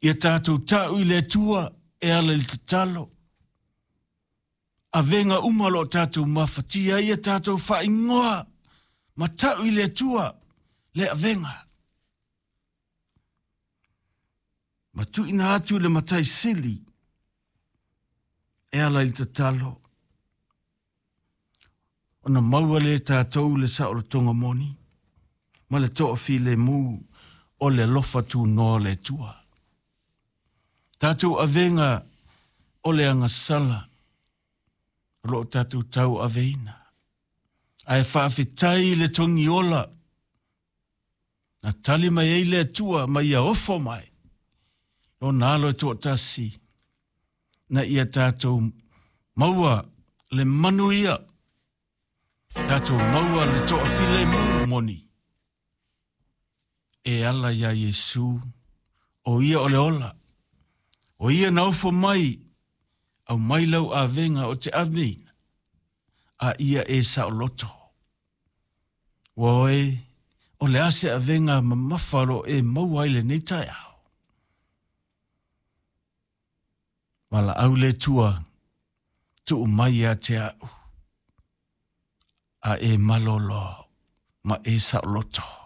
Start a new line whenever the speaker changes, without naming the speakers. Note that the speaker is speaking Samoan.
Ia tatou ta'u i le Atua e ala i le tatalo. Avega uma o lo o tatou mafatia ai ia tatou faaigoa ma ta'u i le Atua le avega. Ma tuuina atu i le Matai Sili e ala i le tatalo. Ona maua lea e tatou le saolotoga moni ma le toafilemu o le alofa tunoa o le Atua. Tatou avega o le agasala o lo o tatou tauaveina. Ae faafetai i le togiola na tali mai ai le Atua ma ia ofo mai lona alo e toatasi na ia tatou maua le manuia, tatou maua le toafilemu moni e ala iā Iesu, o ia o le ola, o ia na ofo mai, aumai lau avega o te aveina, a ia e saoloto. Ua oe, o le a se avega mamafa o lo o e maua ai lenei taeao? Valaau le Atua, tuu mai ia te a'u, a e malolo ma e saoloto.